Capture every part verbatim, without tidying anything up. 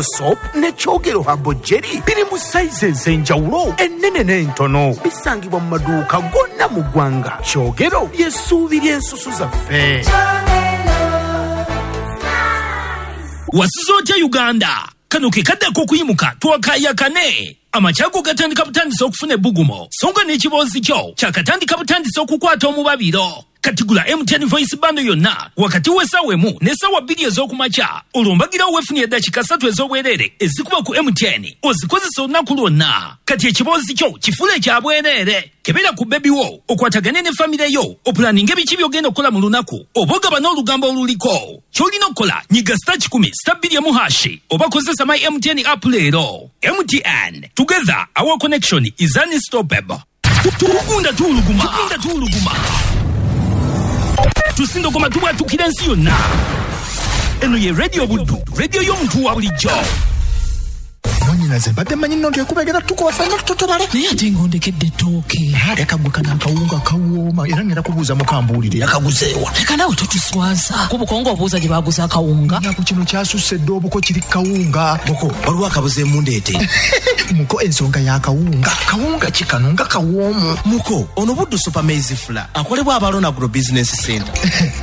Soap ne Kyogero Herbal Jelly biri mu sayizi ez'enjawulo, ennene n'entono. Bisangibwa mu maduuka gonna mu ggwanga. Kyogero ly'essuubi ly'ensusu zaffe. Wasuze otya Uganda? Kano ke kadde ak'okuyimuka twakayakane. Amakyago gatandika butandisa okufuna ebbugumo, so nga n'ekiboozi kyo kyakatandika butandisa okukwata omubabiro. Kati gula M T N Voice Bundle yonna wakati w'essaawa emu n'essaawa bbiri ez'okumakya, olwo mbagirawo weefunire eddakiika ssatu ez'obwereere ezikuba ku M T N ozikozesa olunaku lwonna. Kati ekiboozi kyo kifuule ekya bwereere. Kebera ku bebi wo, okwatagane ne famire yo, opulaninge biki by'ogenda okukola mu lunaku, oba ogaba n'olugambo oluliko. Ky'olina okukola, nyiga star kikumi star bbiri emu hashi oba kozesa My M T N app leero. M T N, together our connection is unstoppable. Tugunda tuuluguma, tugunda tuuluguma. Tusindogoma tubwatukira ensi yonna. Eno ye Radio Buddu, radio y'omuntu wa bulijjo. Mwannyinaze, mbadde mmanyi nno nti ekubegera tukuwa ffenna tutotobale. Naye ate ng'ondekedde ettooke. Ate kaggwe kano akawunga kawooma, era ngenda kubuuza mukambuulire yakaguzeewa. Leka naawe totuswaza. Ku buko ng'obuuza gye baguza akawunga. Nnaku kino kyasusse dda, obuko kiri kawunga. Muko, waliwo akabuze emundeete. Muko, ensonga y'akawunga. Kawunga ki kano nga kawoomu? Muko, ono Buddu Super Maize Flour akolebwa Abalona Agro Business Center.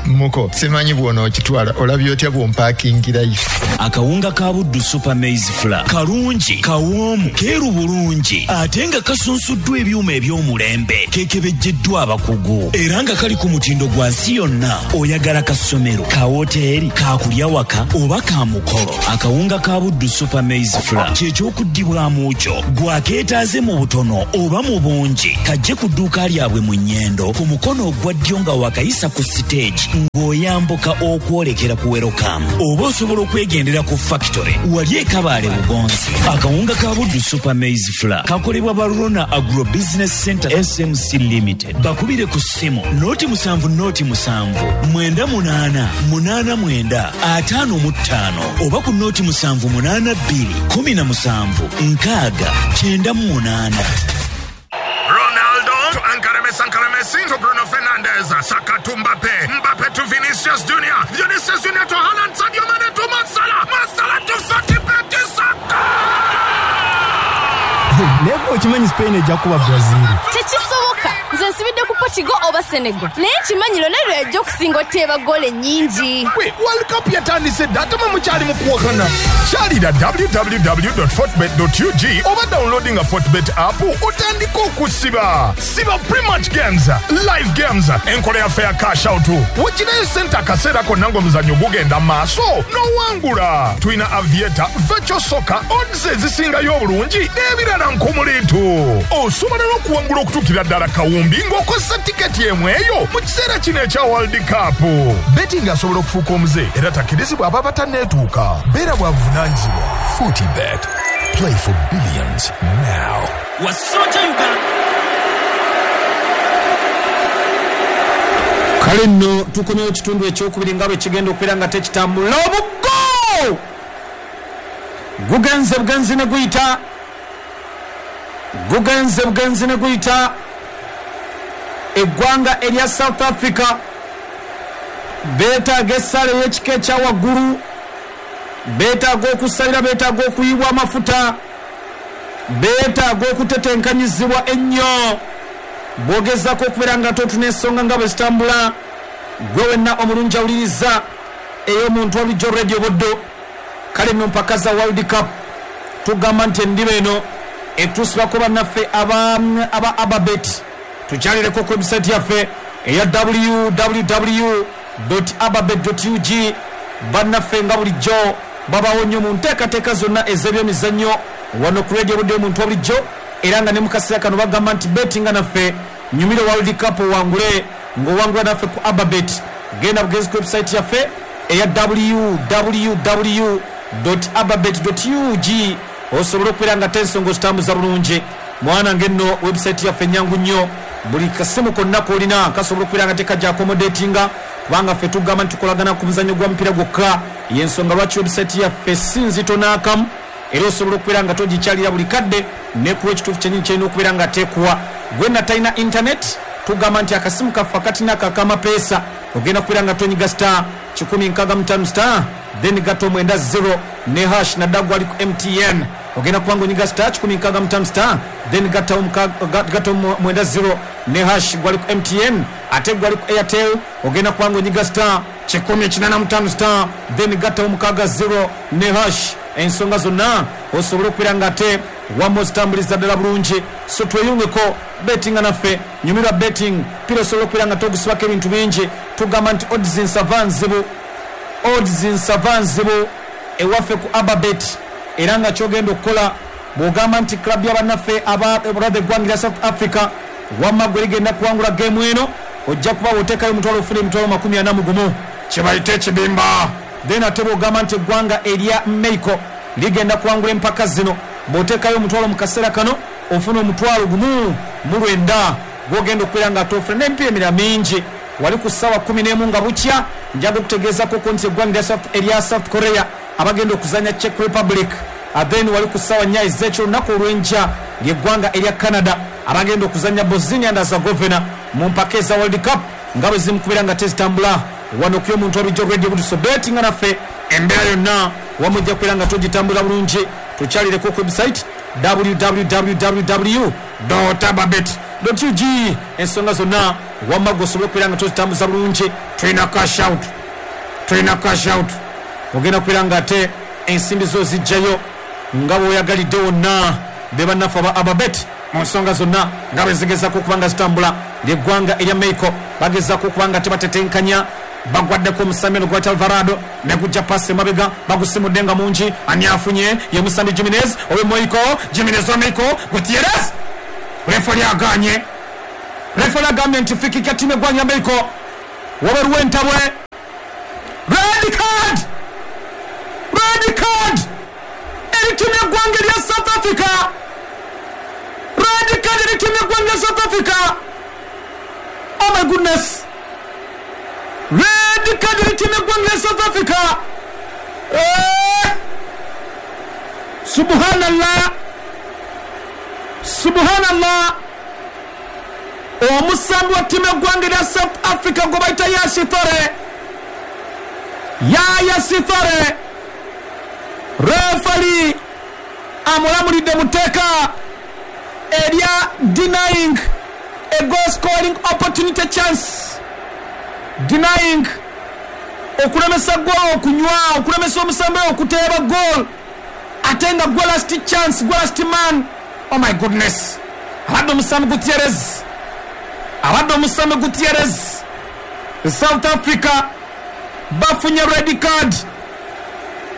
Muko, simanyi bw'onookitwala, olabye otya bw'ompaakingirayo? Akawunga ka Buddu Super Maize Flour kalungi, kawoomu, keeru bulungi, ate nga kasunsuddwa ebyuma eby'omulembe, keekebejjeddwa abakugu, era nga kali ku mutindo gwa nsi yonna. Oyagala kasomero, ka woteeri, ka kulya waka oba ka mukolo, akawunga ka Buddu Super Maize Flour kye ky'okuddibwamu kyo. Gwakeetaaze mu butono oba mu bungi, kajje ku dduuka lyabwe mu Nnyendo ku mukono ogwa ddyo nga wakayisa ku siteegi ng'oyambuka okwolekera ku Welcome, oba osobola okwegendera ku factory wali e Kabaale Bugonzi. Akawunga ka Buddu Super Maize Flour kakolebwa Barona Agro Business Center S M C Limited. Bakubire ku ssimu noti musanvu noti musanvu mwenda munaana munaana mwenda ataano mu ttaano oba ku noti musanvu munaana bbiri kumi na musanvu nkaaga kyenda mu munaana. Ronaldo to Ankara Messi, Ankara Messi to Bruno Fernandes, Saka to Mbappe, Mbappe to Vinicius Junior, Vinicius Junior to Haaland, Sadio Mane to Mo Salah, Mo Salah to Fati Peti Saka. Naye okimanyi Spain ejja kuba Brazil. Tekisoboka. Nze nsibidde ku Portugal oba Senegal. Naye nkimanyi Ronaldo yajja okusinga oteeba ggoolo ennyingi. Wait, World Cup yatandise dda ate mwe mukyali mu kuwakana. Kyalira w w w dot fortbet dot u g oba downloading a Fortbet app otandike okusiba. Siba pre-match games, live games, enkola yaffe ya cash out. Wekirayo ssente akaseera konna ng'omuzannyo gugenda mu maaso n'owangula. Tulina Aviator, Virtual Soccer, odds ezisingayo obulungi n'ebirala nkumuliitu. Osobola n'okuwangula okutuukira ddala kawumbi ng'okozesa tiketi emu eyo mu kiseera kino ekya World Cup. Betting asobola okufuuka omuze era takkirizibwa aba batanneetuuka. Beera bwavunaanyizibwa. Fortbet. Play for billions now. Wasota Uganda. Kale nno tukomyewo ekitundu ekyokubiri nga bwe kigenda okubeera nga tekitambula. Omugo gugenze bugenzi ne guyita, gugenze bugenzi ne guyita. Eggwanga erya South Africa beetaaga essaala ey'ekika ekya waggulu, beetaaga okusalira, beetaaga okuyibwa amafuta, beetaaga okutetenkanyizibwa ennyo. Bw'ogezaako okubeera nga totuna ensonga nga bwe zitambula, gwe wenna omulungi awuliriza ey'omuntu wa bulijjo Radio Buddu. Kale nno mpaka za World Cup tugamba nti endiba eno etuusibwako bannaffe aba aba Ababet. Tukyalireko ku website yaffe eya w w w dot ababet dot u g. Bannaffe nga bulijjo babawo nnyo mu nteekateeka zonna ez'ebyemizannyo wano ku Radio Buddu y'omuntu wa bulijjo, era nga ne mu kaseera kano bagamba nti betinga naffe nyumire World Cup owangule ng'owangula naffe ku Ababet. Genda bugenzi ku website yaffe eya w w w dot ababet dot u g osobola okubeera nga tensonga ozitambuza bulungi. Mwana ng'enno website yaffe nnyangu nnyo, buli kasimu konna k'olina kasobola okubeera nga tekajja accommodatinga, kubanga ffe tugamba nti tukolagana ku muzannyo gwa mupiira gwokka. Y'ensonga lwaki website yaffe si nzito n'akamu, era osobola okubeera nga togikyalira buli kadde nekuwa ekituufu kyennyini kyerina okubeera nga teekuwa. Gwe natalina internet Tugamba nti akasimu kaffe akatina kakamapeesa ogenda kubeera nga tonyiga star kikumi nkaaga mu ttaano star then gato mwenda zero ne hash naddala ali ku M T N. Ogenda kuba nga onyiga star kikumi nkaaga mu ttaano star then gato mwenda zero ne hash gwali ku M T N. Ate gwali ku Airtel ogenda kuba nga onyiga star kikumi kinaana mu ttaano star then gato mukaaga zero ne hash. Ensonga zonna osobola okubeera nga ate wamma ozitambuliza ddala bulungi. So tweyungeko bettinga naffe, nyumirwa betting pira osobola okubeera nga togusibako ebintu bingi. Tugamba nti odds nsava nzibu, odds nsava nzibu ewaffe ku Ababet, era nga kyogenda okukola bw'ogamba nti club y'abannaffe aba brother eggwanga lya South Africa wamma gwe ligenda kuwangula geemu eno, ojja kuba bw'oteekayo omutwalo ofuna emitwalo makumi ana mu gumu kye bayita ekibimba. Then ate bw'ogamba nti eggwanga erya Mexico ligenda kuwangula empaka zino, bw'oteekayo omutwalo mu kaseera kano ofuna omutwalo gumu mu lwenda gw'ogenda okubeera nga ate ofuna n'emipiira emirala mingi. Wali ku ssaawa kkumi n'emu nga bukya njaga okutegeezako ko nti eggwanga erya South Korea abagenda okuzannya Czech Republic. Then wali ku ssaawa nnya ez'ekiro olunaku olw'enkya ly'eggwanga erya Canada abagenda okuzannya Bosnia and Herzegovina mu mpaka eza World Cup nga bwe zimukubeera nga tezitambula wano ku y'omuntu olujja Radio Buduso. Bettinga naffe embeera yonna wamu ojja kubeera nga togitambula bulungi. Tukyalireko ku website w w w dot ababet dot u g ensonga zonna wamma gwe osobola okubeera nga tozitambuza bulungi. Tulina cash out, tulina cash out, ogenda kubeera nga ate ensimbi zo zijjayo nga bw'oyagalidde wonna. Be bannaffe aba Ababet mu nsonga zonna nga bwe zigezaako okuba nga zitambula. Ly'eggwanga erya Mexico bagezaako okuba nga tebatetenkanya, bagwaddeko omusambi ono gwayita Alvarado ne gujja paasi emabega bagusimudde nga mungi. Ani afunye ye musambi Jimenez owe Mexico, Jimenez wa Mexico, Gutierrez. Refali aganye, refali agambye nti free kick ya ttiimu eggwanga ya Mexico. Wabeeruwo entabwe, red card, red card eri ttiimu y'eggwanga erya South Africa, red card eri ttiimu y'eggwanga erya South Africa. Oh my goodness, red card eri ttiimu y'eggwanga erya South Africa. Eh! Subhanallah, subhanallah. Omusambi wa ttiimu y'eggwanga erya South Africa gwe bayita Yaya Yaya Sithole, refali amulamulidde mu tteeka erya denying a goal scoring opportunity chance, denying okulemesa goal okunywa, okulemesa omusambi okuteeba goal ate nga gwe last chance, gwe last man. Oh my goodness, abadde omusambi Gutierrez, abadde omusambi Gutierrez. South Africa bafunye red card,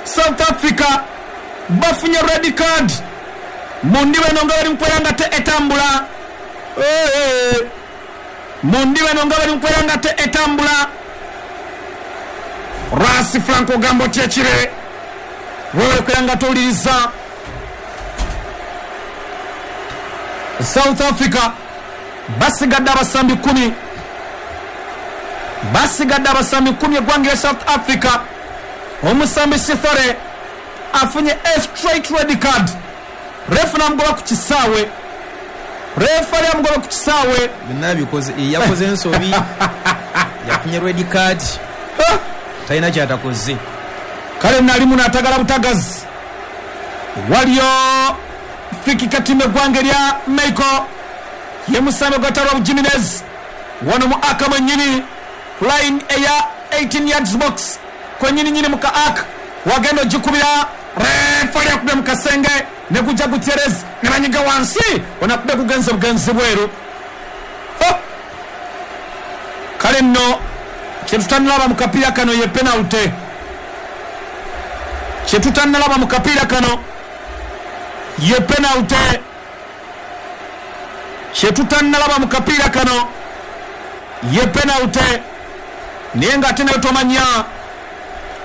South Africa bafunye red card. Mundi bano nga bali mukwera nga te etambula, mundi bano nga bali mukwera nga te etambula. Rasi Franco Gambo kyekire wewe kwera nga towuliriza. South Africa basigadde abasambi kumi, basigadde abasambi kumi eggwanga lya South Africa. Omusambi Sithole afunye a straight red card, refu n'amugoba ku kisaawe, refu ali amugoba ku kisaawe. Byonna bikoze, yakoze ensobi, yafunye red card, talina kyatakoze. Kale nalimu n'atagala butagazi. Waliyo free kick ttiimu eggwanga erya Mexico ye musambi gwatalwa Jimenez wano mu aka mwennyini ku line eya eighteen yards box kwennyini nyini mu ka aka wagenda ogikubira. Refali akubye mu kasenge ne gujja Gutierrez ne banyiga wansi onakubye kugenza bugenzi bweru. Kale nno kye tutannalaba mu kapiira kano ye penalty, kye tutannalaba mu kapiira kano ye penalty, kye tutannalaba mu kapiira kano ye penalty. Naye ng'ate nayo tomanya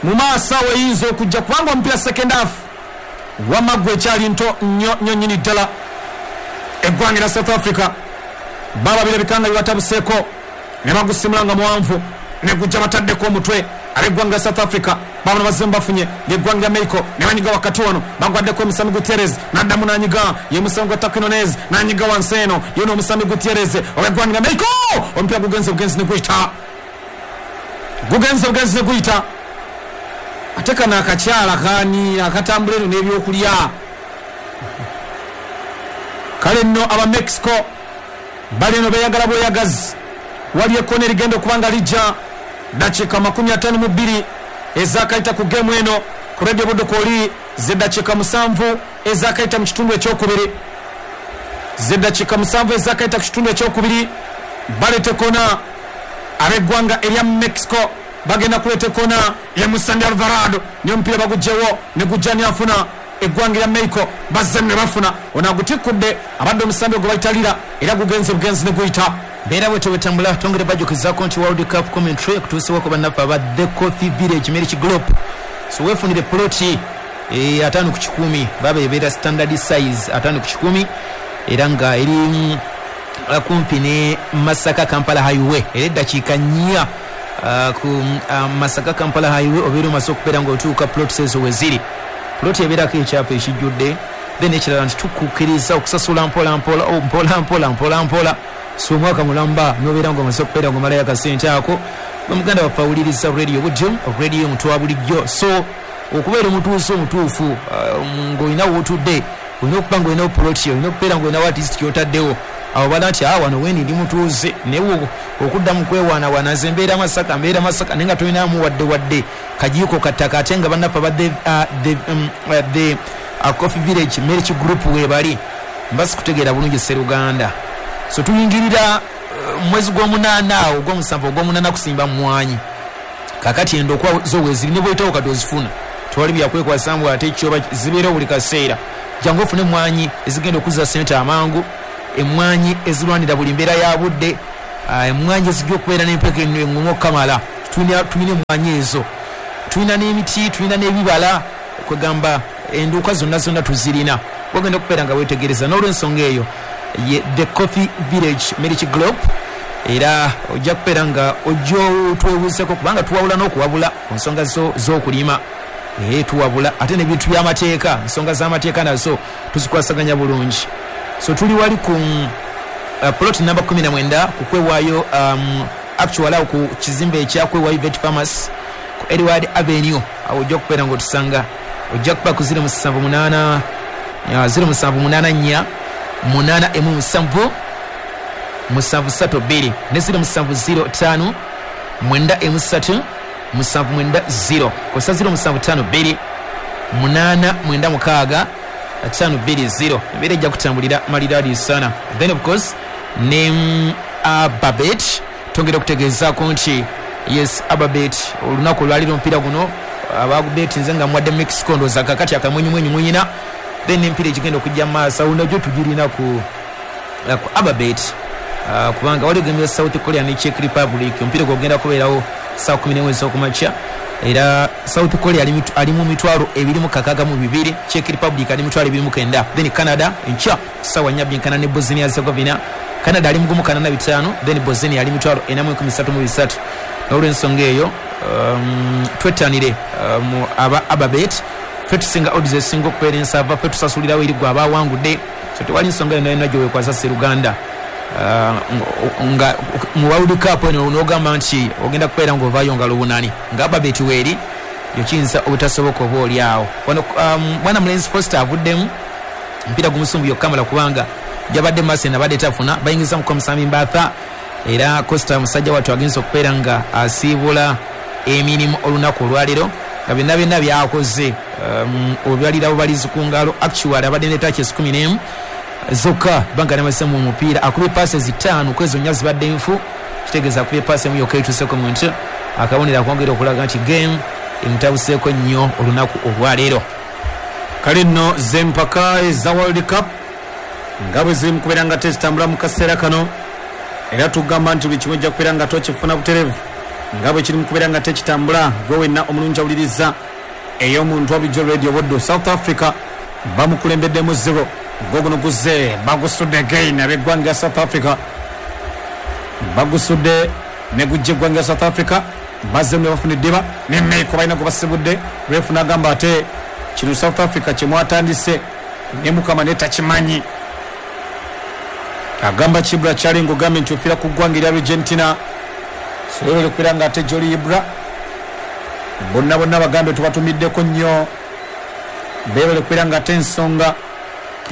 mu maaso awo eyinza okujja kubanga omupiira second half wamma gwe ekyali nto nnyo nnyo nnyini ddala. Eggwanga lya South Africa baba birabika nga bibatabuseeko ne bagusimula nga muwanvu ne gujja bataddeko omutwe ab'eggwanga lya South Africa. Babano bazze bafunye ng'eggwanga lya Mexico ne banyiga wakati wano, bagwaddeko omusambi Gutierrez n'addamu n'anyiga, ye musambi gwa Quinones n'anyiga wansi eno, ye n'omusambi Gutierrez ow'eggwanga lya Mexico. Omupiira gugenze bugenzi ne guyita, gugenze bugenzi ne guyita. Ate kano akakyala kani akatambula eno n'ebyokulya. Kale nno aba Mexico bali eno beeyagala bweyagazi. Wali ekkona erigenda okuba nga lijja dakiika makumi ataano mu bbiri ezakayita ku gemu eno ku Radio Buddu kwoli zeddakiika musanvu ezakayita mu kitundu ekyokubiri, zeddakiika musanvu ezakayita ku kitundu ekyokubiri. Baleeta ekkona ab'eggwanga erya Mexico bagenda kuleeta ekkona ye Musambi Alvarado, niyo omupiira bagugyewo ne gujja niyafuna eggwanga erya Mexico bazze ne bafuna. Ono agutikudde abadde omusambi ogwo bayita Lira, era gugenze bugenzi ne guyita. Mbeera bwetyo bwetambula. Twongere bajjukizaako nti World Cup commentary ekutuusibwako bannaffe aba The Coffee Village Milk Group. So weefunire ploti e, ataano ku kikumi, baba ebeera standard size ataano ku kikumi, era nga eri kumpi ne Masaka Kampala Highway, era eddakiika nnya uh, ku uh, Masaka Kampala Highway obeera omaze okubeera ng'otuuka plot ezo we ziri. Ploti ebeerako ekyapa ekijjudde. Then ekirala nti tukukkiriza okusasula mpola mpola, oh, mpola mpola mpola mpola. So omwaka mulamba n'obeera ng'omaze okubeera ng'omalayo akasente ako. Muganda waffe awuliriza Radio Buddu, radio mutwa bulijjo. So okubeera omutuuze omutuufu uh, ng'olina w'otudde, olina okuba ng'olina ploti, olina okubeera ng'olina artist ky'otaddewo. Awo bala nti awa wano weni ndi mutuuze, naye okudda mu kwewaanawaana nze mbeera Masaka, mbeera Masaka, naye nga tolinamu wadde wadde kajiiko kattaka. Ate nga bannaffe aba the, uh, the, um, uh, the uh, Coffee Village Milk Group weebali mba sikutegeera bulungi Sseruganda. So tuyingirira uh, mwezi gw'omunaana awo ogw'omusanvu ogw'omunaana kusimba mmwanyi. Kakati endokwa zo weeziri ne bw'oyitawo kati ozifuna, tewali byakwekwasa mbu ate kyoba zibeerawo buli kaseera. Jangu ofune emmwanyi ezigenda okuzza ssente amangu, emmwanyi ezirwanira buli mbeera ya budde, uh, emmwanyi ezijja okubeera n'empeke eŋŋumu okukamala. Tulina emmwanyi ezo, tulina n'emiti, tulina n'ebibala, kwegamba enduuka zonna zonna tuzirina. Wagenda okubeera nga weetegereza. N'olw'ensonga eyo ye The Coffee Village Milk Group, era ojja kubeera nga ojja otwebuuzeeko kubanga tuwabula n'okuwabula ku nsonga z'okulima. Ee tuwabula ate n'ebintu by'amateeka, ensonga z'amateeka nazo tuzikwasaganya bulungi. So tuli wali ku uh, plot namba kumi na mwenda ku Kwewaayo, um, actual awo ku kizimbe ekya Kwewaayo Vet Pharmacy ku Edward Avenue. Awo ojja kubeera ng'otusanga, ojja kuba ku ziro musanvu munaana ziro musanvu munaana nnya munaana emu musanvu musanvu ssatu bbiri ne ziro musanvu ziro ttaano mwenda emu ssatu musanvu mwenda ziro kosa ziro musanvu ttaano bbiri munaana mwenda mukaaga ttaano bbiri ziro. Embeera ejja kutambulira maliraadi sana. Then of course ne Ababet twongera okutegeezaako nti yes, Ababet olunaku olwaliro omupiira guno abagubet nze nga mwadde Mexico ndowooza kakati akamwenyumwenyu muyina. Then empiira egigenda okujja mu maaso awo nagyo tugirina ku, ku Ababet uh, kubanga waliwo gemu ya South Korea ne Czech Republic. Omupiira gwogenda kubeerawo ssaawa kumi n'emu ez'okumakya, era South Korea ali mu mitwalo ebiri mu kakaaga mu bibiri, Czech Republic ali mitwalo ebiri mu kenda. Then Canada enkya ssaawa nnya byenkana ne Bosnia Herzegovina, Canada ali mu gumu kanana bitaano, then Bosnia ali mitwalo ena mu enkumi ssatu mu bisatu. N'olw'ensonga eyo um, twettanire um, aba Ababet ffe tusinga odds ezisinga okubeera ensava, ffe tusasulirawo eri gwe abawangudde. So tewali nsonga yonna yonna gyeweekwasa Sseruganda. Uh, nga mu World Cup eno n'ogamba nti ogenda kubeera ng'ovaayo ngalo bunani nga Ababet weeri, yo kiyinza obutasoboka oba oli awo. Wano um, mwana mulenzi Foster avuddemu omupiira gumusumbuye okukamala kubanga gyabadde maaso eno abadde tafuna, bayingiza mu Musambi Mbatha, era Costa musajja wattu agenza okubeera nga asiibula emirimu olunaku olwaleero nga byonna byonna byakoze um, obyalira bubalizi ku ngalo. Actually abadde ne touches kumi n'emu zokka banga namaze mu mupiira, akubye passes ttaano ku ezo nnya zibadde nfu, kitegeeza akubye paasi emu yokka etuuseeko mu nti akabonero akwongera okulaga nti game emutabuseeko nnyo olunaku olwaleero. Kale nno z'empaka eza World Cup nga bwe ziri mu kubeera nga tezitambula mu kaseera kano, era tugamba nti buli kimu ojja kubeera nga tokifuna butereevu nga bwe kiri mu kubeera nga tekitambula. Gwe wenna omulungi awuliriza ey'omuntu wabulijjo Radio Buddu. South Africa bamukulembeddemu zero, gwo guno guzze bagusudde again ab'eggwanga lya South Africa, bagusudde ne gujja eggwanga lya South Africa. Bazzemu ne bafuna eddiba ne Mexico balina gwe basibudde. Refu n'agamba ate kino South Africa kye mwatandise ne Mukama ne takimanyi. Agamba Kibra Kyalingo ogambye nti ofiira ku ggwanga erya Argentina. Soyole kubeera nga ate Joli Ibra bonna bonna bagambe tubatumiddeko nnyo, beebale kubeera nga ate ensonga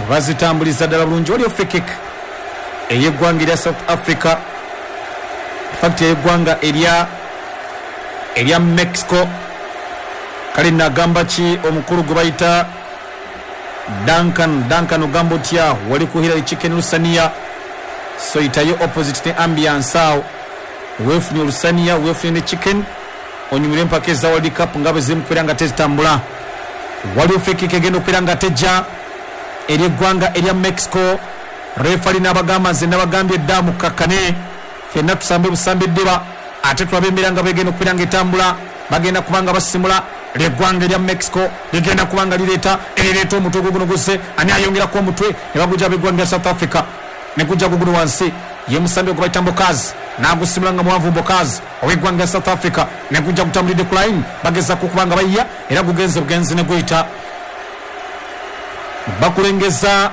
bazitambuliza ddala bulungi. Waliyo free kick ey'eggwanga erya South Africa, infact ey'eggwanga erya erya Mexico. Kale nagamba ki omukulu gwe bayita Duncan. Duncan ogamba otya? Wali ku Hillary Chicken Lusania, so itayo opposite ne ambiance awo, weefunye olusaniya, weefunye ne chicken, onyumire empaka eza World Cup nga bwe ziri mukubeera nga tezitambula. Waliwo free kick egenda okubeera nga tejja eri eggwanga erya Mexico. Refali n'abagamba nze nabagambye dda mukakkane, ffenna tusambe busambe eddiba, ate tulabe embeera nga bwegenda okubeera nga etambula. Bagenda kubanga basimula lyeggwanga erya Mexico ligenda kubanga lireeta erireeta omutwe guguno gusse, ani ayongerako omutwe ne bagujja ab'eggwanga lya South Africa ne gujja guguno wansi. Ye musambi gwe bayita Mbokazi n'agusimula nga muwanvu Mbokazi ow'eggwanga lya South Africa ne gujja gutambulidde ku line, bagezaako okuba nga bayiya era gugenze bugenzi ne guyita. Bakulengeza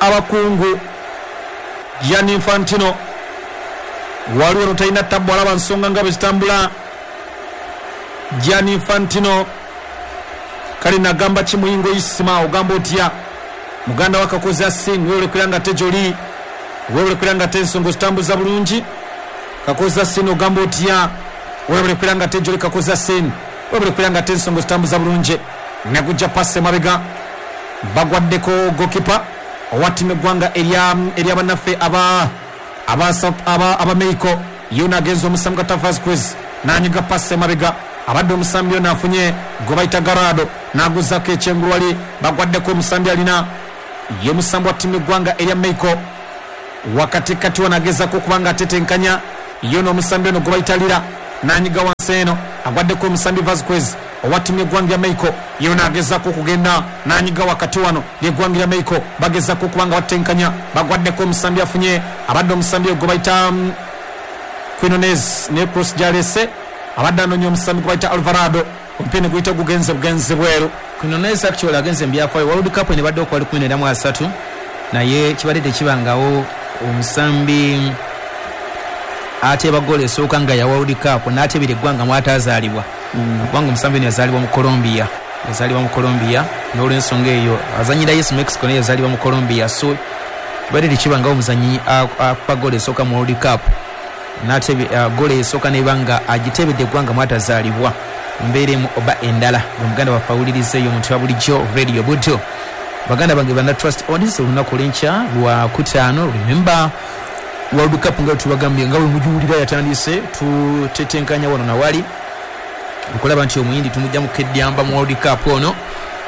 abakungu Gianni Infantino, waliwo no talina tabbu alaba nsonga nga bwe zitambula. Gianni Infantino kale nagamba ki Muyingo Isima ogamba otya? Muganda wa Kakozi Asin, wewe kubeera nga ate gy'oli, wewe kubeera nga ate ensonga ozitambuza bulungi. Kakozi Asin ogamba otya? Wewe kubeera nga ate gy'oli Kakozi Asin, wewe kubeera nga ate ensonga ozitambuza bulungi. Negujja pasi emabega, bagwaddeko goalkeeper owa ttiimu eggwanga erya erya bannaffe aba aba aba aba Mexico. Yona agenze omusambi Gata Vasquez n'anyiga pasi emabega, abadde omusambi ono afunye gwe bayita Garado n'aguzaako ekyengulu wali, bagwaddeko omusambi alina ye musambi wa ttiimu eggwanga erya Mexico. Wakatikati wano agezaako okuba nga atetenkanya yona omusambi ono gwe bayita Lira n'anyiga wansi eno, agwaddeko omusambi Vasquez owa ttiimu y'eggwanga lya Mexico. Yona agezaako okugenda n'anyiga wakati wano ly'eggwanga lya Mexico, bagezaako okuba nga batetenkanya, bagwaddeko omusambi afunye abadde omusambi gwe bayita Quinones ne cross gy'aleese, abadde anoonya omusambi gwe bayita Alvarado, omupiira ne guyita gugenze bugenzi bweru. Quinones actually agenze mu byafaayo. World Cup eno ebadde okuwa lukumi n'enda mu asatu, naye kibadde tekibangawo omusambi ateeba ggoolo esooka nga ya World Cup n'ateebera eggwanga mw'ataazaalibwa, kubanga omusambi ono yazaalibwa mu Colombia, yazaalibwa mu Colombia, n'olwensonga eyo azannyira Yes Mexico naye yazaalibwa mu Colombia. So kibadde tekibangawo omuzannyi akuba ggoolo esooka mu World Cup n'atebe ggoolo esooka n'eba nga agiteebedde eggwanga mw'atazaalibwa. Mbeera emu oba endala nga muganda waffe awuliriza eyo omuntu wa bulijjo Radio Buddo. Baganda bange banna Trust Odds, olunaku olw'enkya lwa kutaano, remember World Cup nga tubagambye nga bwe mugiwulira yatandise, tutetenkanya wano na wali okulaba nti omuyindi tumujja mu kedyamba mu World Cup ono.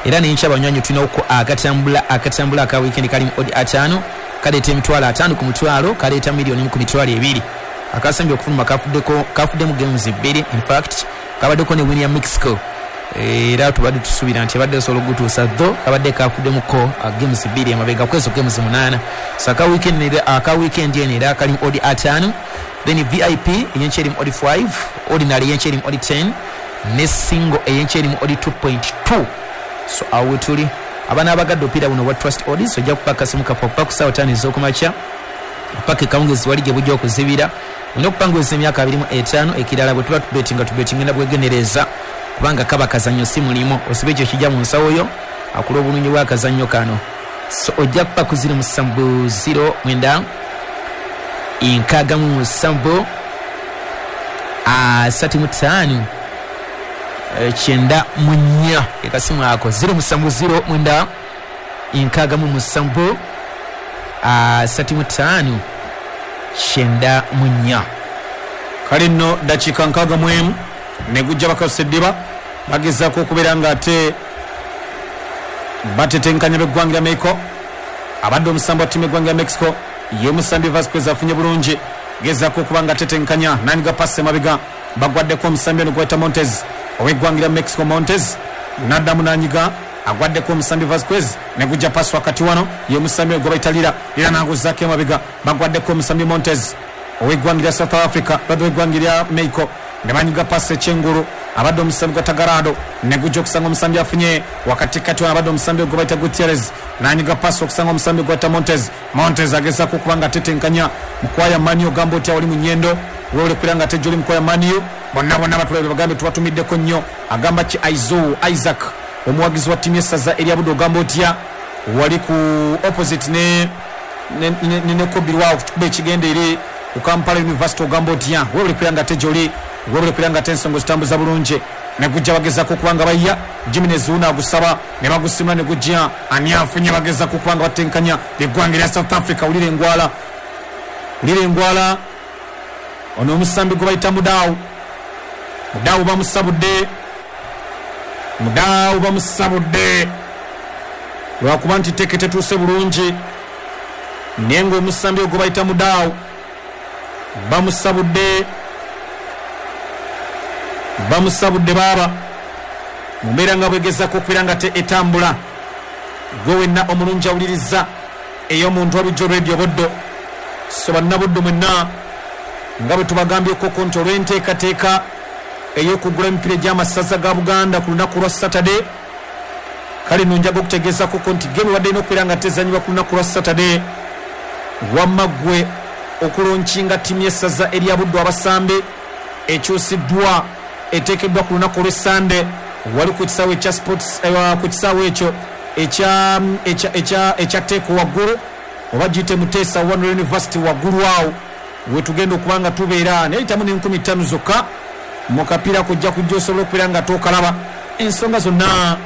Era n'enkya abanywanyi tulinako akatambula akatambula aka weekend kali mu odi ataano, kaleeta emitwalo ataano ku mutwalo, kaleeta miliyoni emu ku mitwalo ebiri. Akasembye okufuluma kafuddeko kafuddemu games bbiri, in fact kabaddeko ne win ya Mexico, era tubadde tusuubira nti abadde osobola okugutuusa tho kabadde kafuddemuko games bbiri emabega kwezo games munaana. So aka weekend aka weekend eno era kali mu odi ataano, then V I P eyenkya eri mu odi five, ordinary eyenkya eri mu odi ten, ne single eyenkya eri mu odi two point two. So awo we tuli abaana abagadde opiira buno obwa Trust Odds, ojja kupa akasimu kaffe okupa ku ssaawa ttaano ez'okumakya paka ekawungezi wali gye bujja okuzibira. Olina okupanguliza emyaka abiri mu etaano. Ekirala bwe tuba tubetinga tubetinga bwegenereza, kubanga kaba kazannyo si mulimu, osibe ekyo kijja mu nsawo yo akula obulungi bw'akazannyo kano. So ojja kupa ku ziro musanvu ziro mwenda nkaaga mu musanvu asatu mu ttaano kyenda mu nnya, ekasimu ako ziro musanvu ziro mwenda nkaaga mu musanvu asatu mu ttaano kyenda mu nnya. Kale nno dakiika nkaaga mu emu ne gujja bakasusa eddiba, bagezaako okubeera nga ate batetenkanya b'eggwanga lya Mexico. Abadde omusambi wa ttiimu y'eggwanga lya Mexico ye musambi Vasquez afunye bulungi, gezaako okuba nga atetenkanya n'anyiga pasi emabega, bagwaddeko omusambi ono gwayita Montes ow'eggwanga lya Mexico. Montes n'addamu n'anyiga, agwaddeko omusambi Vasquez ne gujja pasi wakati wano ye musambi gwe bayita Lira, Lira n'aguzaako emabega, bagwaddeko omusambi Montes ow'eggwanga lya South Africa, badde ow'eggwanga lya Mexico Ne banyiga pasi ekyengulu abadde omusambi gwa Tagarado ne gujja okusanga omusambi afunye wakati kati abadde omusambi gwe bayita Gutierrez nanyiga pasi okusanga omusambi gwa Montes. Montes agezaako okuba nga atetenkanya Mukwaya Manu ogamba otya wali mu Nyendo wole kulanga ate joli Mukwaya Manu bonna bonna batulabe bagambe tubatumiddeko nnyo. Agamba ki Aizo Isaac omuwagizi wa ttiimu y'essaza erya Buddu ogamba otya wali ku opposite ne ne ne, ne Kobirwa okuba ekigenda eri ku Kampala University ogamba otya wole kulanga ate joli wole kulanga ate ensonga zitambuza bulungi ne gujja bagezaako okubanga bayya Jimenez una agusaba ne bagusimula ne gujja ani afunye bagezaako okubanga batenkanya eggwanga erya South Africa. Ulire engwala ulire engwala ono omusambi gwe bayita Mudau. Mudau bamusabudde Mudau bamusabudde lwakuba nti teke tetuuse bulungi naye ng'omusambi ogwo bayita Mudau bamusabudde bamusabudde baaba mu mbeera nga bwegezaako okubeera nga te etambula. Gwe wenna omulungi awuliriza ey'omuntu wabulijjo Radio Buddo so bannabuddu mwenna nga bwe tubagambyeko nti olw'enteekateeka ey'okugula emipiira gy'amasaza ga Buganda ku lunaku lwa Saturday, kale nno njaga okutegeezako nti gemu ebadde erina okubeera nga tezannyibwa ku lunaku lwa Saturday, wamma ggwe okulonkinga ttiimu y'essaza erya Buddu abasambi ekyusiddwa eteekeddwa ku lunaku olw'Essande wali ku kisaawe ekya sports ku kisaawe ekyo ekya ekya ekya Teeko waggulu oba giyite Muteesa One University waggulu awo wetugenda okuba nga tubeera neyitamu n'enkumi ttaano zokka mu kapiira kujja kujja osobola okubeera nga tokalaba ensonga zonna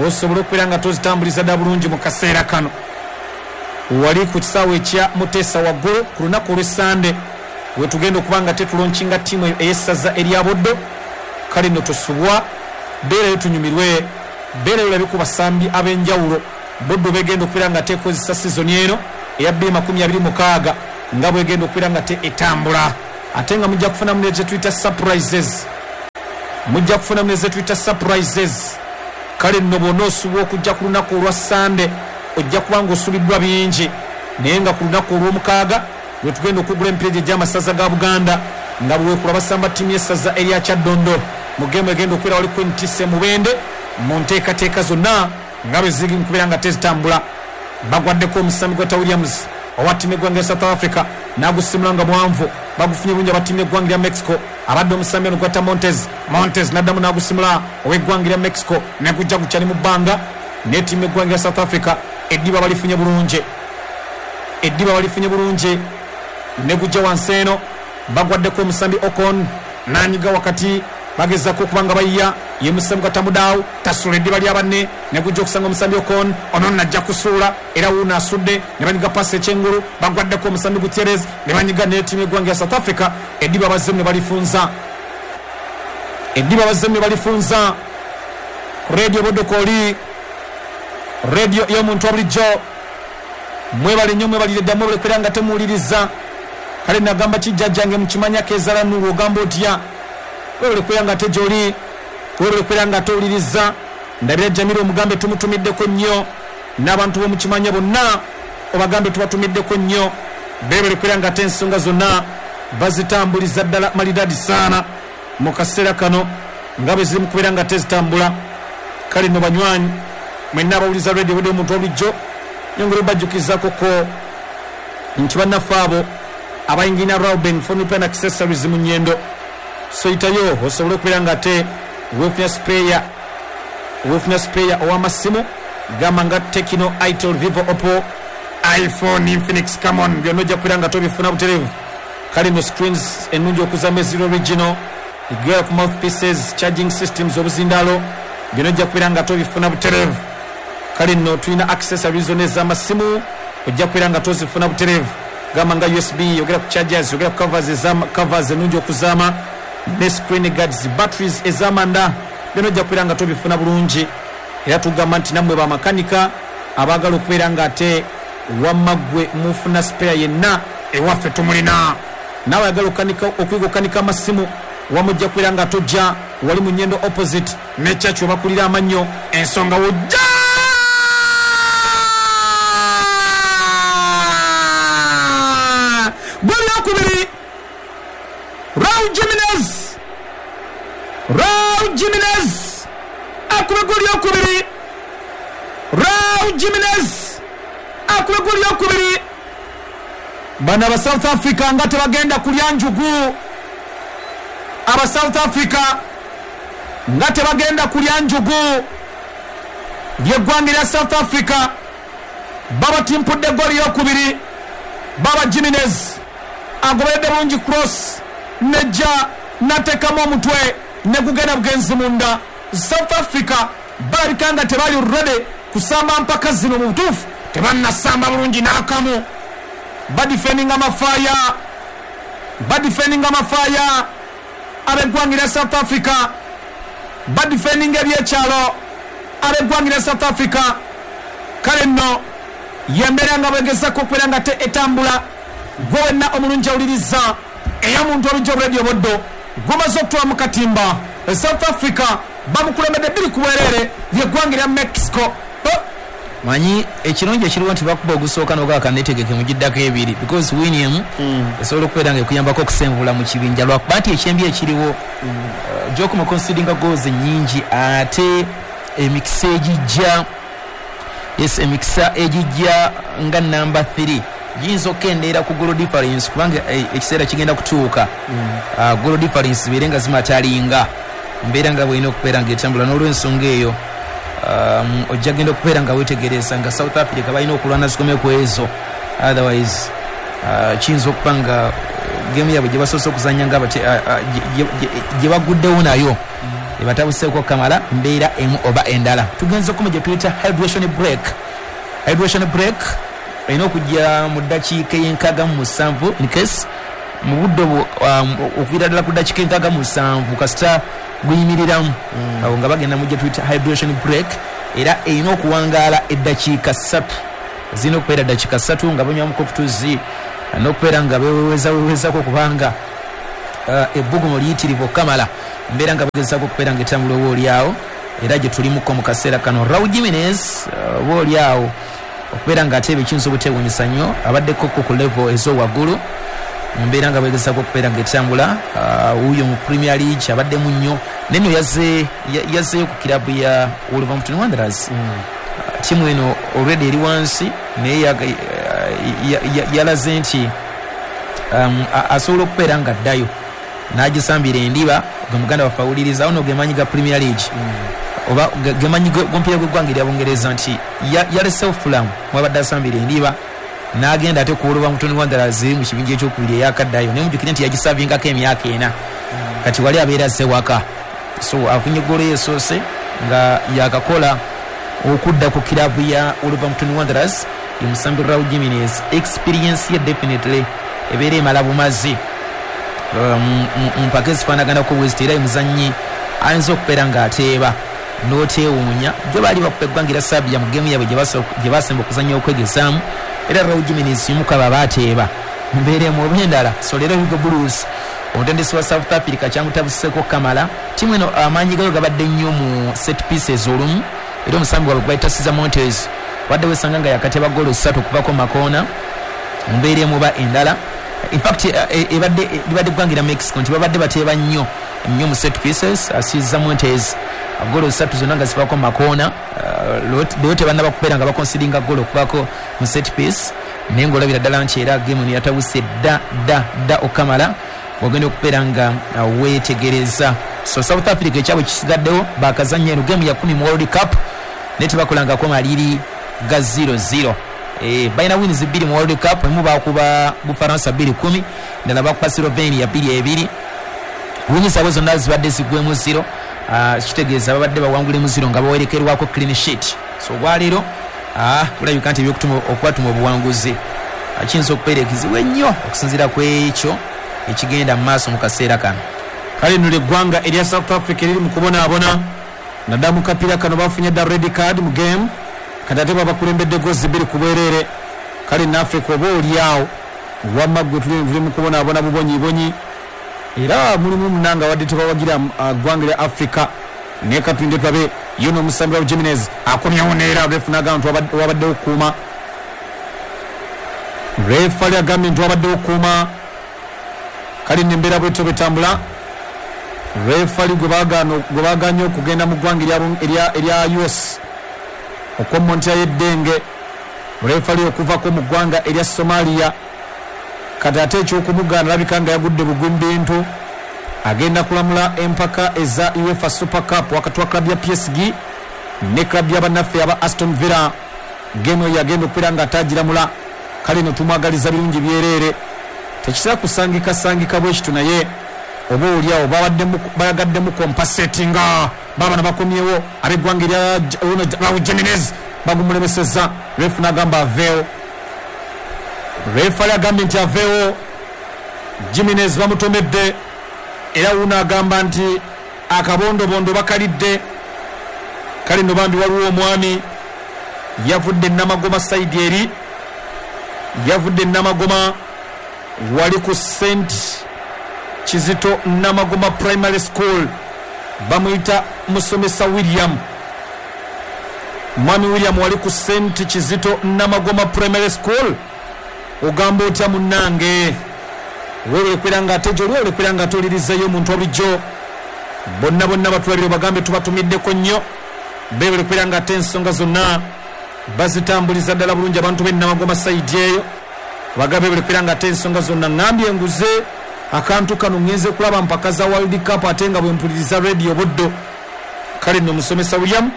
osobola okubeera nga tozitambuliza dda bulungi mu kaseera kano. Wali ku kisaawe ekya Muteesa waggulu ku lunaku olw'Essande wetugenda okuba nga tetulonkinga ttiimu ey'essaza erya Buddu. Kale nno tosubwa, beerayo tunyumirwe, beerayo olabe ku basambi ab'enjawulo Buddu begenda okubeera nga teekozesa sizoni eno eya bbiri makumi abiri mukaaga nga bwegenda okubeera nga te etambula. Ate nga mujja kufunamu ne ze tuyita surprises, mujja kufunamu ne ze tuyita surprises. Kale nno bw'onoosubwa okujja ku lunaku olwa Sande ojja kuba ng'osubiddwa bingi, naye nga ku lunaku olw'omukaaga lwe tugenda okugula emipiira gy'amasaza ga Buganda nga bwekula basamba ttiimu y'essaza erya Kyaddondo mu geemu egenda okubeera wali ku N T C Mubende mu nteekateeka zonna nga bwe ziri mu kubeera nga tezitambula. Bagwaddeko omusambi gwa Williams owa ttiimu y'eggwanga lya South Africa n'agusimula nga mwanvu, bagufunye bulungi aba ttiimu y'eggwanga lya Mexico. Abadde omusambi ono gwata Montes, Montes n'addamu n'agusimula ow'eggwanga lya Mexico ne gujja gukyali mu bbanga ne ttiimu y'eggwanga lya South Africa eddiba balifunye bulungi, eddiba balifunye bulungi ne gujja wansi eno. Bagwaddeko omusambi Ocon n'anyiga wakati bagezaako okuba nga bayiya ye musambi gwa Tamudaawu tasula eddiba lya banne ne gujja okusanga omusambi Ocon ono najja kusuula era wuuno asudde ne banyiga pasi ekyengulu. Bagwaddeko omusambi Gutierrez ne banyiga n'ettiimu y'eggwanga lya South Africa eddiba bazzemu ne balifunza, eddiba bazzemu ne balifunza. Ku Radio Buddu kwoli radio y'omuntu wa bulijjo mwebale nnyo, mwebalire dda, mwebale kubeera nga temuwuliriza. Kale nagamba kijjajjange mukimanya keezala Nuru ogamba otya webale kubeera nga tejoli, webale kubeera nga towuliriza. Ndabira Jamiro omugambe tumutumiddeko nnyo n'abantu b'omukimanya bonna obagambe tubatumiddeko nnyo, beebale kubeera nga te ensonga zonna bazitambuliza ddala malidadi saana mu kaseera kano nga bwe ziri mu kubeera nga tezitambula. Kale nno banywanyi mwenna abawuliza Radio Buddu omuntu wabulijjo nyongera obajjukizaako ko nti bannaffe abo abayingina Rauben Phone Repair and Accessories mu Nyendo soyitayo osobola okubeera nga ate weefuna spare, weefuna spare ow'amasimu gamba nga Tecno, Itel, Vivo, Oppo, iPhone, Infinix, Camon byonna ojja kubeera nga tobifuna butereevu. Kale no screens ennungi okuzama eziri original, egera ku mouthpieces, charging systems, obuzindaalo byonna ojja kubeera nga tobifuna butereevu. Kale nno tulina accessories zonna ez'amasimu ojja kubeera nga tozifuna butereevu gamba nga U S B, yogera ku chargers, yogera ku covers ez'ama covers ennungi okuzaama ne screen guards, batteries ez'amanda byonna ojja kubeera nga tobifuna bulungi. Era tugamba nti nammwe bamakanika abaagala okubeera nga ate wamma ggwe mufuna spare yenna ewaffe tumulina. Naawe ayagala okuyiga okukanika amasimu wamujja kubeera nga tojja wali mu Nyendo opposite ne church webakulira amannyo ensonga wojja goli okubiri Raul Jimenez Raul Jimenez akuba goli yokubiri. Bano aba South Africa nga tebagenda kulya njugu, aba South Africa nga tebagenda kulya njugu. Lyeggwanga lya South Africa babatimpudde goli yokubiri. Baba Jimenez agoberedde bulungi cross nejja natekamu omutwe negugenda bugenzi munda. South Africa balabika nga tebali ready kusamba mpaka zino mu butuufu tebannasamba bulungi n'akamu. Badifendinga mafaaya, badifendinga mafaaya ab'eggwanga lya South Africa, badifendinga ebyekyalo ab'eggwanga lya South Africa. Kale nno yembeera nga bwegezako okubeera nga te etambula. Gwe wenna omulungi awuliriza ey'omuntu olujja Radio Buddo gumaze okutwala mu katimba. South Africa bamukulembedde bbiri ku bwereere lyeggwanga lya Mexico. Manyi ekirungi ekiriwo nti bakuba ogusooka n'ogaka netegeke mugiddako ebiri because win emu esobola okubeera nga ekuyambako okusenvula mu kibinja, lwakuba nti ekyembi ekiriwo uh, gy'okoma consideringa goals nnyingi ate emikisa egijja, yes emikisa egijja nga number three giyinza okukendeera ku goal difference kubanga ekiseera kigenda kutuuka uh, goal difference zibeere nga zimatalinga mbeera nga bw'erina okubeera nga etambula. N'olw'ensonga eyo um, ojja genda okubeera nga weetegereza nga South Africa balina okulwana zikome ku ezo, otherwise uh, kiyinza okuba nga game yaabwe gye basoose okuzannya nga gye baguddewo nayo ebatabuseeko kamala mbeera emu oba endala. Tugenze okukoma gye tuyita hydration break. Hydration break erina okujja mu ddakiika ey'enkaaga mu musanvu in case mu budde obwo um, okuviira ddala ku ddakiika enkaaga mu musanvu kasita guyimiriramu awo nga bagenda mu gye tuyita hydration break, era erina okuwangaala eddakiika ssatu, zirina okubeera ddakiika ssatu nga banywamuko okutuzi n'okubeera nga bewewezawewezaako kubanga uh, ebbugumu liyitirivu okukamala mbeera nga bagezaako okubeera nga etambula oba oliawo, era gye tulimuko mu kaseera kano. Raul Jimenez uh, oba oliawo okubeera nga ate ebikiyinza obuteewuunyisa nnyo abaddeko ku level ez'owaggulu mu mbeera nga bagezaako okubeera nga etambula. Wuuyo mu Premier League abaddemu nnyo neno yazze yazzeeyo ku kirabu ya Wolverhampton Wanderers. Ttiimu eno already eri wansi naye yalaze nti um, asobola okubeera nga addayo n'agisambira endiba. Gwe muganda waffe awuliriza ono gemanyi ga Premier League oba gemanyi g'omupiira gw'eggwanga erya Bungereza nti yalesewo Fulham mwabadde asambira endiba n'agenda ate ku Wolverhampton Wanderers mu kibinja ekyokubiri eyakaddayo, naye mujjukire nti yagisavingako emyaka ena kati wali abeera azze waka. So afunye ggoolo yeesoose nga yakakola okudda ku kirabu ya Wolverhampton Wanderers. Ye Raul Jimenez experience ye definitely ebeera emala bumazi mu mpaka ezifaanaganako bweziti, era muzannyi ayinza okubeera ng'ateeba n'oteewuunya. Gyo baali bakuba eggwanga erya Serbia mu geemu yaabwe gye basemba okuzannya okwegezaamu, era Raul Jimenez y'omu ku abo abaateeba mu mbeera emu oba endala. So leero Hugo Broos omutendesi wa South Africa kyamutabuseeko kamala. Ttiimu eno amaanyi gayo gabadde nnyo mu set pieces olumu, era omusambi waabwe gwe bayita Cesar Montes wadde wesanga nga yakateba ggoolo ssatu okuvako makoona mu mbeera emu oba endala. In fact ebadde libadde ggwanga erya Mexico nti babadde bateeba nnyo nnyo mu set pieces. Cesar Montes ggoolo ssatu zonna nga zivako makoona, leero tebannaba kubeera nga bakonsidinga ggoolo okuvako mu set piece, naye ng'olabira ddala nti era geemu eno yatabuse dda dda dda okamala ogenda okubeera nga weetegereza. So South Africa ekyabwe kisigaddewo bakazannya eno geemu ya kumi mu World Cup naye tebakolangako maliri ga zero zero. E, balina wins bbiri mu World Cup, emu bakuba Bufaransa bbiri kumi, endala bakuba Slovenia bbiri ebiri. Wins zaabwe zonna zibadde ziggwemu zero, uh, kitegeeza babadde bawangulemu zero nga bawerekerwako clean sheet. So olwaleero kulabika nti ebyokutuma okubatuma obuwanguzi kiyinza okubeera ekizibu ennyo okusinziira ku ekyo ekigenda mu maaso mu kaseera kano. Kale nno eggwanga erya South Africa eriri mu kubonaabona naddala mu kapiira kano bafunye dda red card mu game, kati ate babakulembedde gozi bbiri ku bwereere. Kale nno Africa oba oliawo wamma ggwe tuli mu kubonaabona bubonyibonyi, era mulimu munanga wadde tebawagira ggwanga lya Africa. Naye katulinde tulabe yo n'omusambi wa Jimenez akomyewo neera refu n'agamba nti wabaddewo okukuuma. Refali agambye nti wabaddewo okukuuma. Kale nno embeera bwetyo bwetambula. Refali gwe baagaanye okugenda mu ggwanga erya U S Okomontya y'eddenge refali okuvako mu ggwanga erya Somalia. Kati ate ekyokumugaana alabika nga yagudde bugwi mu bintu. Agenda kulamula empaka eza UEFA Super Cup wakati wa club ya P S G ne club ya bannaffe aba Aston Villa. Gemo yagenda okubeera nga atagiramula. Kale no tumwagaliza birungi byereere, tekitera kusangika sangika bwe kitu, naye oba oliawo bayagaddemu compensatinga baabano bakomyewo ab'eggwanga erya Raul Jimenez bagumulemesezza. Refu n'agamba aveewo, refali agambye nti aveewo. Jimenez bamutomedde era wuno agamba nti akabondobondo bakalidde. Kale no bambi waliwo omwami yavudde Namagoma sayidi eri, yavudde Namagoma wali ku Saint Kizito Namagoma Primary School, bamuyita musomesa William. Mwami William wali ku Saint Kizito Namagoma Primary School, ogamba otya munnange? Wewe kwera nga ate gyoli, wewe kwera nga atolirizayo omuntu obulijjo. Bonna bonna batulabire bagambe tubatumiddeko nnyo, beebale kwera nga ate ensonga zonna bazitambuliza ddala bulungi abantu b'e Namagoma sayidi eyo. Bagambe beebale kwera nga ate ensonga zonna. Ŋŋambye enguze akantu kano ngenze kulaba mpaka za World Cup ate nga bwe mpuliriza radio Buddo. Kale nno musomesa William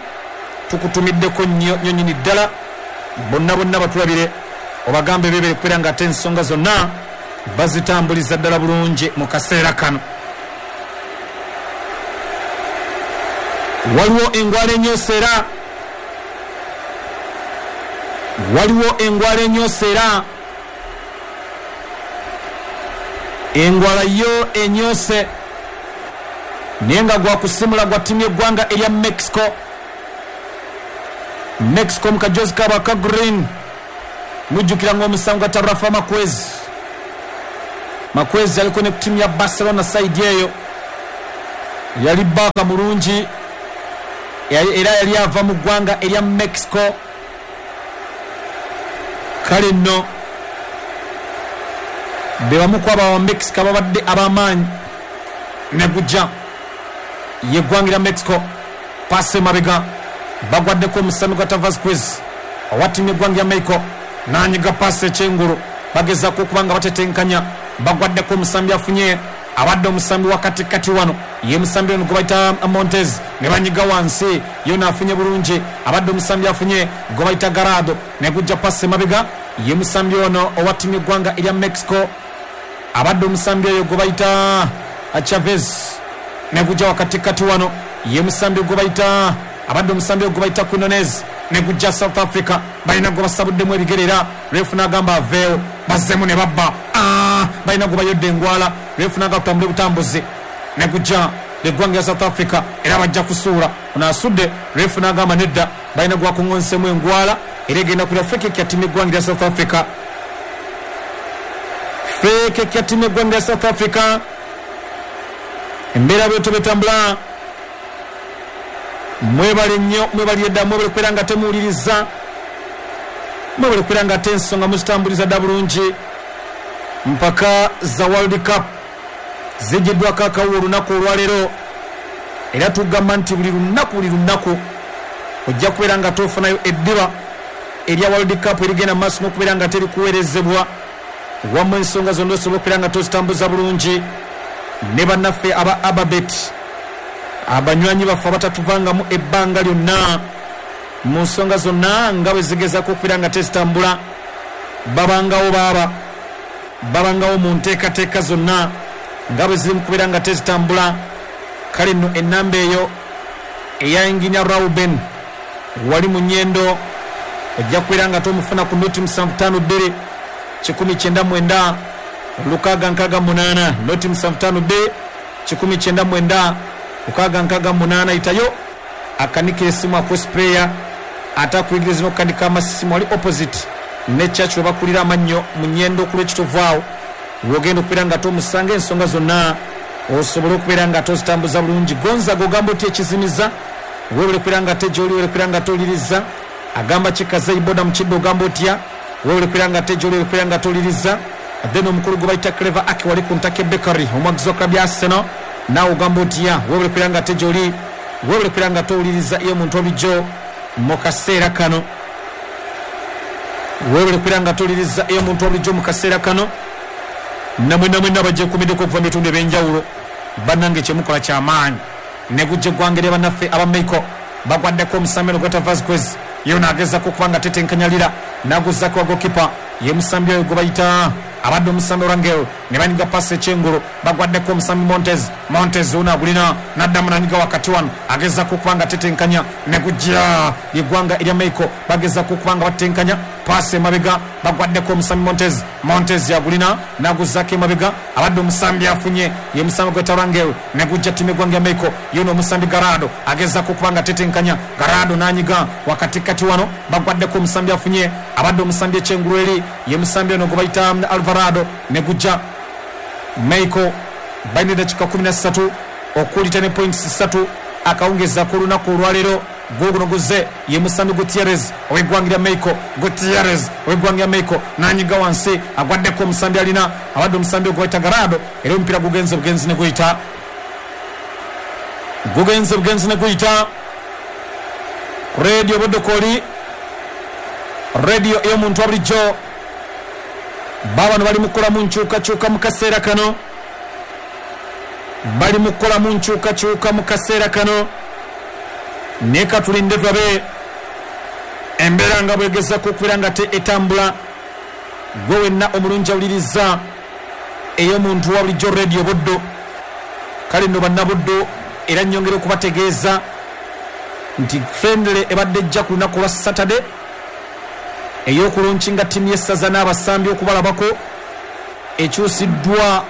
tukutumiddeko nnyo nnyo nnyini ddala. Bonna bonna batulabire obagambe beebale kwera nga ate ensonga zonna bazitambuliza ddala bulungi mu kaseera kano. Waliwo engwala ennyose era, waliwo engwala ennyose era, engwala yo ennyose naye nga gwakusimula gwa ttiimu y'eggwanga erya Mexico. Mexico mu kajozi kaabwe aka green, mujjukira ng'omusango gwa Rafa Marquez. Marquez yaliko ne ku ttiimu ya Barcelona sayidi eyo, yali baaka mulungi era yali ava mu ggwanga erya Mexico. Kale nno be bamu ku abo aba Mexico ababadde ab'amaanyi ne gujja y'eggwanga erya Mexico. Paasi emabega bagwaddeko omusambi gwa Vasquez owa ttiimu y'eggwanga ya Mexico, n'anyiga paasi ekyengulu, bagezaako okuba nga batetenkanya. Bagwaddeko omusambi afunye abadde omusambi wa katikati wano ye musambi ono gwe bayita Montez, ne banyiga wansi yona afunye bulungi. Abadde omusambi afunye gwe bayita Garado, ne gujja paasi emabega ye musambi ono owa ttiimu y'eggwanga erya Mexico. Abadde omusambi oyo gwe bayita Chavez, ne gujja wakatikati wano ye musambi gwe bayita abadde omusambi gwe bayita Quinones, ne gujja South Africa. Balina gwe basabuddemu ebigere era refu n'agamba aveewo, bazzemu ne babba. Ah, balina gwe bayodde engwala, refu n'agamba tutambule butambuzi, ne gujja eggwanga lya South Africa era bajja kusuula. Ono asudde, refu n'agamba nedda, balina gwe bakuŋŋonsemu engwala era egenda kulya free kick ya ttiimu y'eggwanga lya South Africa. Free kick ya ttiimu y'eggwanga lya South Africa. Embeera bwetyo betambula. Mwebale nnyo, mwebalire ddala, mwebale kubeera nga temuwuliriza, mwebale kubeera nga ate ensonga muzitambuliza dda bulungi. Mpaka za World Cup zigiddwako akawuwo olunaku olwaleero, era tugamba nti buli lunaku buli lunaku ojja kubeera nga tofunayo eddiba erya World Cup erigenda mu maaso n'okubeera nga terikuweerezebwa. Wamu ensonga zonna osobola okubeera nga tozitambuza bulungi ne bannaffe aba Ababet, abanywanyi baffe abatatuvangamu ebbanga lyonna mu nsonga zonna nga bwe zigezaako okubeera nga tezitambula. Babangawo baaba babangawo mu nteekateeka zonna nga bwe ziri mu kubeera nga tezitambula. Kale nno ennamba eyo eya Engineer Rauben wali mu Nyendo ojja kubeera nga tomufuna ku noti musanvu ttaano bbiri kikumi kyenda mwenda lukaaga nkaaga munaana, noti musanvu ttaano bbiri kikumi kyenda mwenda lukaaga nkaaga munaana. Itayo akanika esimu aku sprayer ate akuyigiriza n'okukanika amasimu wali opposite ne church we bakulira amannyo mu Nyendo ku lw'Ekitovu awo wogenda okubeera nga tomusanga ensonga zonna osobola okubeera nga tozitambuza bulungi. Gonzaga ogamba otya ekizimiza? Weebale kubeera nga ate gy'oli, weebale kubeera nga toliriza. Agamba kikaze iboda mu kiddo ogamba otya? Weebale kubeera nga ate gy'oli, weebale kubeera nga toliriza. Then omukulu gwe bayita Clever Ake wali ku Ntake Bakery omwagizi wa club ya Arsenal, naawe ogamba otya? Weebale kubeera nga ate gy'oli, weebale kubeera nga towuliriza ye omuntu olijjo. Mu kaseera kano weebale kubeera nga toliriza ey'omuntu obulijjo. Mu kaseera kano namwe namwe nabajekumiddeko okuva mu bitundu ebyenjawulo, bannange kyemukola kyamaanyi. Negujja eggwanga erya bannaffe aba Mexico, bagwaddeko omusambi ono gweta Vasquez, ye ono agezaako okuba nga tetenkanyalira n'aguzzaako wa gokipa ye musambi oyo gwe bayita abadde omusambi Rangel, ne banyiga pasi ekyengulu, bagwaddeko omusambi Montez. Montez ono agulina n'addamu n'anyiga wakati wano, agezaako okuba nga tetenkanya. Negujja eggwanga erya Mexico, bagezaako okuba nga batetenkanya, pasi emabega, bagwaddeko omusambi Montez. Montez yagulina n'aguzzaako emabega, abadde omusambi afunye ye musambi gweta Rangel. Negujja ttiimu eggwanga ya Mexico, ye ono omusambi Garado agezaako okuba nga tetenkanya. Garado n'anyiga wakatikati wano, bagwaddeko omusambi afunye abadde omusambi ekyengulu eri ye musambi ono gwe bayita Alvarado. Negujja Mexico balina eddakiika kumi na ssatu okulita ne points ssatu akawungeza ku lunaku olwaleero. Guguno guze ye musambi Gutierrez ow'eggwanga lya Mexico. Gutierrez ow'eggwanga lya Mexico n'anyiga wansi, agwaddeko omusambi alina abadde omusambi gwe bayita Garado, era omupiira gugenze bugenzi ne guyita gugenze bugenzi ne guyita. Radio Budokoli, radio ey'omuntu wa bulijjo. Babano bali mukolamu nkyukakyuka mu kaseera kano, bali mukolamu nkyukakyuka mu kaseera kano. Naye katulinde tulabe embeera nga bwegezako okubeera nga te etambula. Gwe wenna omulungi awuliriza ey'omuntu wa bulijjo Radio Buddo. Kale nno bannabuddo, era nnyongera okubategeeza nti friendly ebadde ejja ku lunaku lwa Saturday ey'okulonkinga ttiimu y'essaza n'abasambi okubalabako ekyusiddwa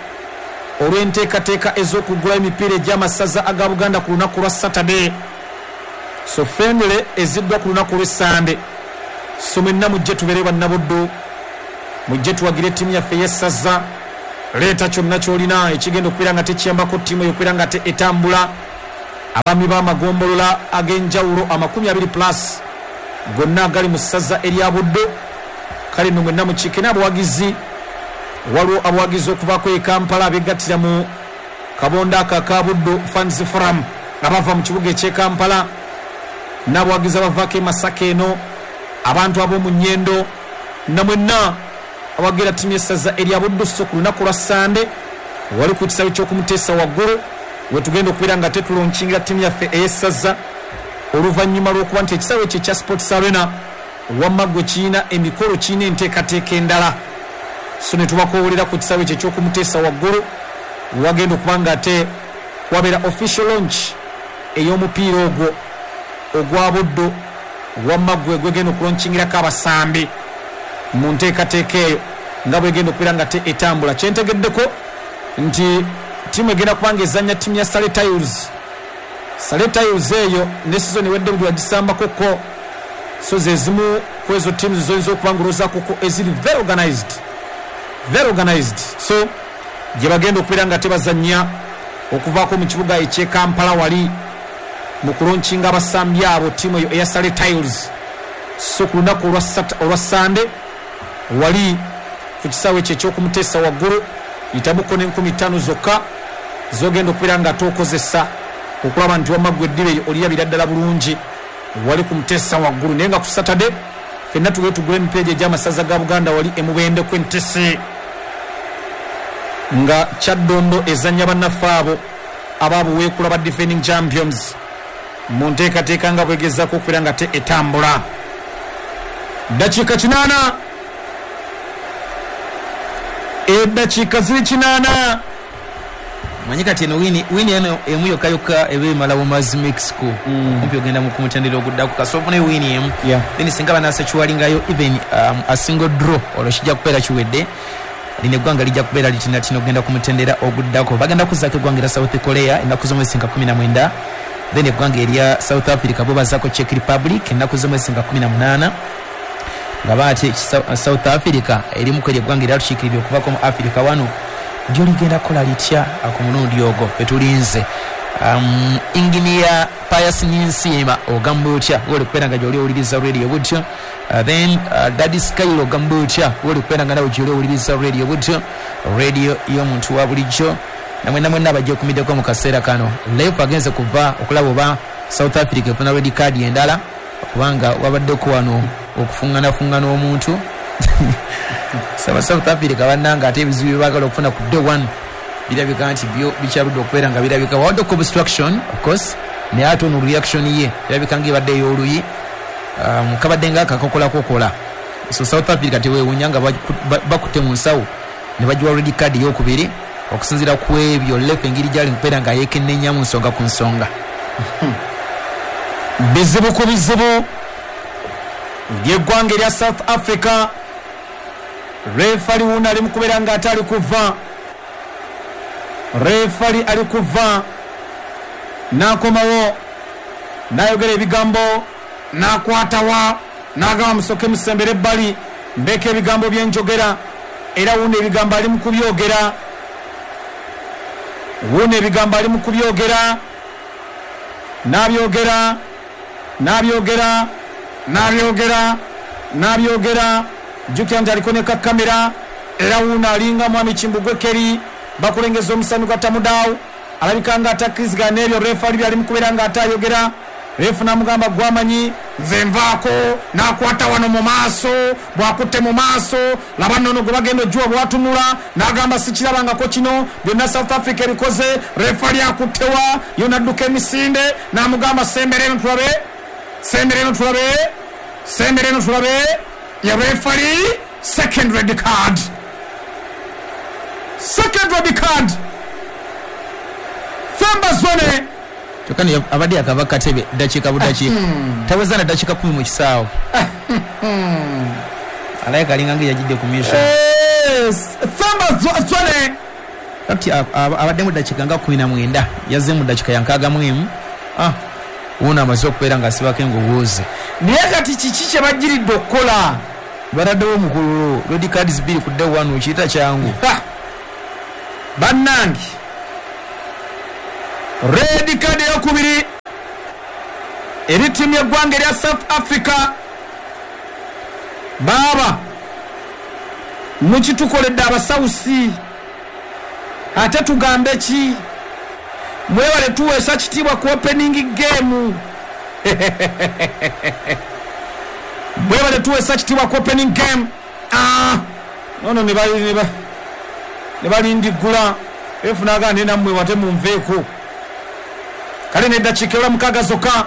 olw'enteekateeka ez'okugula emipiira egy'amasaza aga Buganda ku lunaku lwa Saturday. So friendly eziddwa ku lunaku lw'Essande. So mwenna mujje tubeere bannabuddo, mujje tuwagire ttiimu yaffe ey'essaza. Leeta kyonna ky'olina ekigenda okubeera nga tekiyambako ttiimu eyo okubeera nga te etambula. Abaami b'amagombolola ag'enjawulo amakumi abiri plus gonna agali mu ssaza erya Buddo, kale nno mwenna mukiike n'abawagizi. Waliwo abawagizi okuvaako e Kampala abegattira mu kabondo ako aka Buddo Fans Forum abava mu kibuga eky'e Kampala, n'abawagizi abavaako e Masaka eno, abantu ab'omu Nnyendo, namwenna abawagira ttiimu y'essaza erya Buddo. So ku lunaku lwa Ssande wali ku kisaawe ky'okumuteesa waggulu wetugenda okubeera nga tetulonkingira ttiimu yaffe ey'essaza, oluvannyuma lw'okuba nti ekisaawe ekyo ekya Sports Arena wamma gwe kirina emikolo, kirina enteekateeka endala. So ne tubakoowolera ku kisaawe ekyo eky'okumuteesa waggulu, wagenda okuba nga ate wabeera official launch ey'omupiira ogwo ogwa Buddo wamma gwe gwegenda okulonkingirako abasambi mu nteekateeka eyo nga bwegenda okubeera nga te etambula. Kyentegeddeko nti ttiimu egenda kuba nga ezannya ttiimu ya Sale Tiles. Sale Tiles eyo ne sizoni ewedde buli wagisambako ko, so ze zimu ku ezo ttiimu zoyinza okuba nga olowoozaako ko eziri very organized, very organized. So gye bagenda okubeera nga tebazannya okuvaako mu kibuga eky'e Kampala wali mu kulonkinga abasambi abo ttiimu eyo eya Sale Tiles. So ku lunaku olwa Ssande wali ku kisaawe ekyo eky'okumuteesa waggulu, yitamuko n'enkumi ttaano zokka zogenda okubeera nga tokozesa okulaba nti wamma ggwe eddiba eyo olirabira ddala bulungi wali ku muteesa waggulu. Naye nga ku Saturday ffenna tugende tugule emipiira egy'amasaza ga Buganda wali e Mubende ku Entese, nga Kyaddondo ezannya bannaffe abo ababuweekula ba defending champions mu nteekateeka nga bwegezaako okubeera nga te etambula. Ddakiika kinaana, eddakiika ziri kinaana. Manyi kati eno wini wini eno emu yokka yokka eba emala bumazi Mexico kumpi ogenda mu kumutendera oguddako kasooka ne wini emu, then singa banaasekiwalingayo even um, a single draw olwo kijja kubeera kiwedde. Lino eggwanga lijja kubeera litinatina okugenda ku mutendera oguddako. Bagenda kuzzaako eggwanga erya South Korea ennaku z'omwezi nga kumi na mwenda, then eggwanga erya South Africa bo bazzaako Czech Republic ennaku z'omwezi nga kumi na munaana, nga baate South Africa erimu kweri eggwanga eryatukiikiridde okuvaako mu Africa wano lyo ligenda kukola litya ku mulundi ogwo fetulinze. Um, Engineer Pius Ninsiima ogamba otya woli kubeera nga gy'oli owuliriza radio butyo. Uh, then uh, Daddy Skylo ogamba otya woli kubeera nga nawe gy'oli owuliriza radio butyo, radio y'omuntu wa bulijjo. Namwe namwe abajja okumiddeko mu kaseera kano. Lepo agenze kuva okulaba oba South Africa efuna red card endala Kubanga wabaddeko wano okufungana-fungana omuntu. Saba South Africa bannanga ate ebizibu bye baagala okufuna ku day one birabika nti byo bikyaludde okubeera nga birabika. Wabaddeko obstruction of course, naye ate ono reaction ye erabika ng'ebadde ey'oluyi. Um, kabadde nga akakokolakokola. So South Africa teweewuunya nga bakutte mu nsawo ne bagiwa red card ey'okubiri okusinziira ku ebyo lefe engeri gyali mukubeera nga yeekennenya mu nsonga ku nsonga. Bizibu ku bizibu by'eggwanga erya South Africa. Refali wuno ali mukubeera nga ate ali kuva, refali ali kuva n'akomawo n'ayogera ebigambo n'akwatawa n'agamba musoke musembere ebbali mbeeko ebigambo byenjogera. Era wuno ebigambo ali mu kubyogera, wuno ebigambo ali mu kubyogera, n'abyogera n'abyogera n'abyogera n'abyogera. Jjukira nti aliko ne kakamera. Era wuno alinga mwami Kimbugwe Keri bakulengeza omusanu gwa Tamudaawo, alabika nga atakkirizigana n'ebyo refali byali mu kubeera nga ate ayogera. Refu n'amugamba gwamanyi nze nvaako, n'akwata wano mu maaso, bw'akutte mu maaso laba nnono gwe bagenda ojjuwa bw'atunula n'agamba sikirabangako kino, byonna South Africa ebikoze. Refali akuttewa yo n'adduka emisinde n'amugamba sembera eno tulabe, sembera eno tulabe, sembera eno tulabe. Ya refali second red card, second red card. Themba Zwane kyokka abadde akava katebe ddakiika budakiika, taweza na ddakiika kumi mu kisaawe. Alayika alinga nga yagidde ku mission. Themba Zwane kati abaddemu ddakiika nga kumi na mwenda, yazze mu ddakiika ya nkaaga mu emu. Wuno amaze okubeera ng'asibako engogozi. Naye kati kiki kye bagiridde okukola? Bataddewo omukululo red cards bbiri ku day one, okiyita kyangu bannange. Red card eyokubiri eri ttiimu y'eggwanga erya South Africa. Baaba mukitukoledde abasawusi, ate tugambe ki? Mwebale tuweesa kitiibwa ku opening game. Mwebale tuweesa kitiibwa ku opening game. Ah, nono ne balindigula efu n'agamba naye nammwe wate munveeko. Kale neddakiika ewula mukaaga zokka